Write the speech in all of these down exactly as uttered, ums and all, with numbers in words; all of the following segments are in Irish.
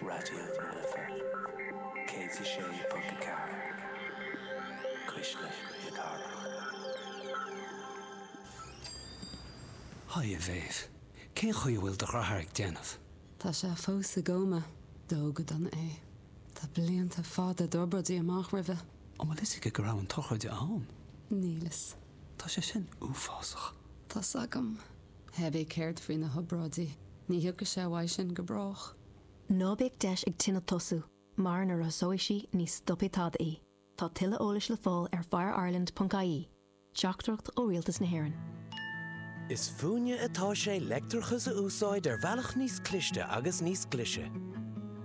Raidió na Life céad a sé ponc a ceathair Cuisle na Cathrach. Haigh a Mhéabh. Cén chaoi a bhfuil do dheartháir ag déanamh? Tá sé fós i gcóma, dódh go dona é. Tá blianta fada d'obráidí amach roimhe. An bhfuil fhios aige go raibh an tsochraid ann? Níl fhios. Tá sé sin uafásach. Tá's agam. Cibé céard faoi na hobráidí, ní thiocfaidh sé uaidh sin go brách. Ná bíodh deis ag tine tosú, mar nuair a thosóidh sí ní stopfaidh tada í. Tá tuilleadh eolais le fáil ar fireireland.ie. Teachtaireacht ó Rialtas na hÉireann. Is fúinne atá sé leictreachas a úsáid ar bhealach níos cliste agus níos glaise.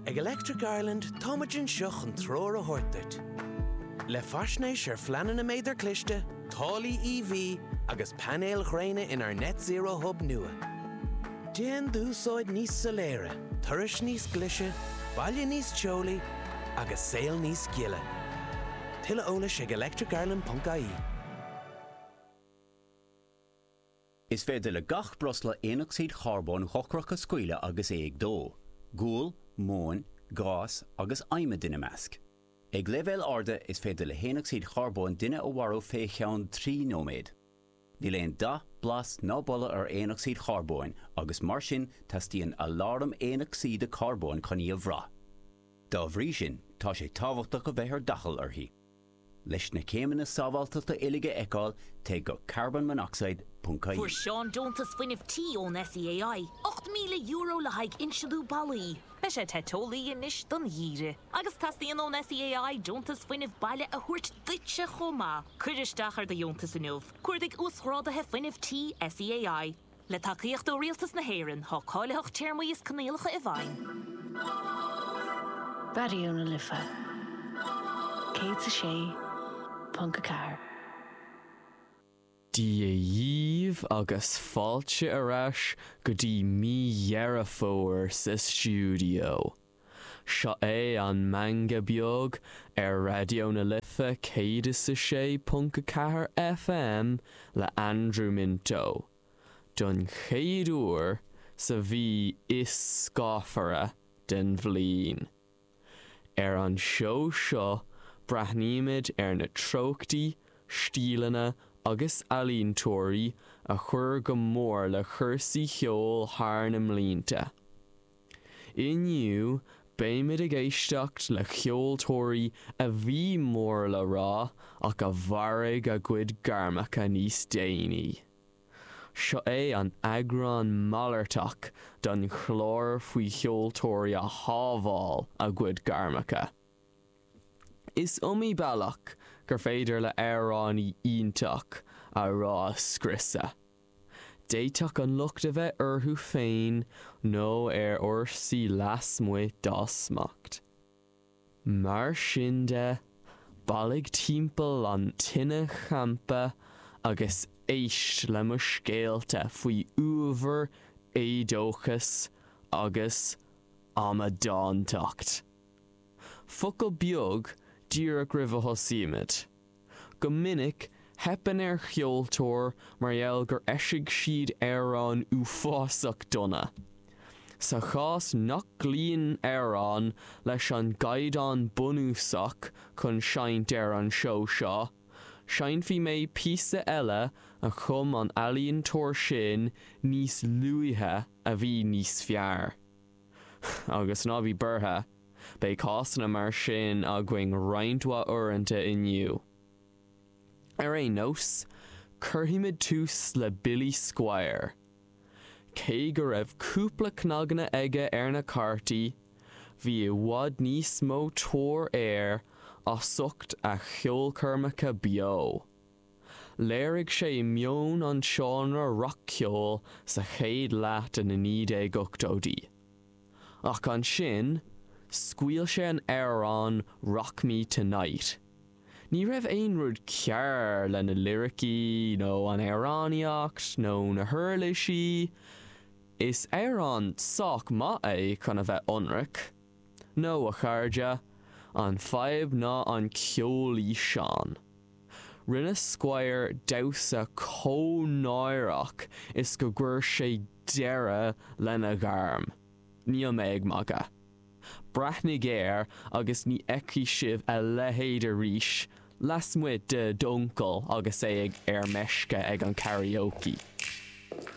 Ag Electric Ireland táimid anseo chun treoir a thabhairt duit. Le faisnéis ar phleananna méadar cliste, táillí EV agus painéil ghréine inár Net Zero Hub nua. Déan d'úsáid níos soiléire, turais níos glaise, baile níos teolaí agus saol níos gile. Tuilleadh eolais ag electricireland.ie. Is féidir le gach breosla aonocsaíd charbóin dhochrach a scaoileadh agus é ag dó, gual, móin, gás agus adhmad ina measc. Ag leibhéil arda is féidir le haonocsaíd charbóin duine a mharú fé cheann trí nóiméad. Níl aon dath, blas ná boladh ar aonocsaíd charbóin agus mar sin teastaíonn aláram aonocsaíde carbóin chun í a bhrath. Dá bhrí sin, tá sé tábhachtach a bheith ar d'fhaichill uirthi. Leis na céimeanna sábháilteachta uilig a fheiceáil, téigh go carbonmonoxide.ie. Fuair Seán deontas fuinnimh tí ón SEAI, ocht míle euro le haghaidh insealú ballaí. Beidh sé te teolaí anois don gheimhreadh. Agus teastaíonn ón SEAI deontas fuinnimh baile a thabhairt duitse chomh maith. Cuir isteach ar do dheontas inniu. Cuardaigh uasghráduithe fuinnimh tí SEAI. Le tacaíocht ó Rialtas na hÉireann, tá cáilitheacht téarmaí is coinníollacha i bhfeidhm. Raidió na Life céad a sé ponc a ceathair. Dia dhíbh agus fáilte ar ais go dtí mí Dheireadh Fómhair sa stiúideo. Seo é an Meangadh Beag ar Raidió na Life céad is a sé ponc a ceathair FM le Andrew Minto. Don chéad uair sa mhí is scáfara den bhliain. Ar an seó seo breathnaímid ar na treochtaí, stíleanna agus ealaíontóirí a chuir go mór le cúrsaí ceoil thar na mblianta. Inniu beimid ag éisteacht le ceoltóirí a bhí mór le rá ach a mharaigh a gcuid gairmeacha níos déanaí. Seo é an eagrán malartach den chlár faoi cheoltóirí a shábháil a gcuid gairmeacha. Is iomaí bealach gur féidir le amhránaí iontach a rath a scriosadh. D'fhéadfadh an locht a bheith orthu féin nó ar fhórsaí lasmuigh dá smacht. Mar sin de, bailigh timpeall an tine champa agus éist le mo scéalta faoi uabhar, éadóchas agus amadántacht. Focal beag díreach roimh a thosaímid. Go minic, teipeann ar cheoltóir mar gheall gur eisigh siad amhrán uafásach dona. Sa chás nach gcloíonn amhrán leis an gcaighdeán bunúsach chun seinnt ar an seó seo, seinnfidh mé píosa eile a chum an t-ealaíontóir sin níos luaithe a bhí níos fearr. Agus ná bí buartha, beidh cásanna mar sin againn roinnt mhaith uaireanta inniu. Ar aon nós, cuirfimid tús le Billy Squier. Cé go raibh cúpla cnaganna aige ar na cártaí, bhí i bhfad níos mó tóir air as ucht a cheolchoirmeacha beo. Léirigh sé meon an tseánra rac-cheoil sa chéad leath de na naoi déag ochtóidí. Ach ansin, scaoil sé an amhrán Rock Me Tonight. Ní raibh aon rud cearr le na liricí nó an amhránaíocht nó na huirlisí, is amhrán sách maith é chun a bheith ionraic. No, a chairde, an fadhb ná an ceolfhíseán. Rinne Squier damhsa chomh náireach is go gcuir sé deireadh lena ghairm. Níl mé ag magadh. Breathnaigh air agus ní fheicfidh sibh a leithéid arís, lasmuigh de d'uncail agus é ag ar meisce ag an karaoke.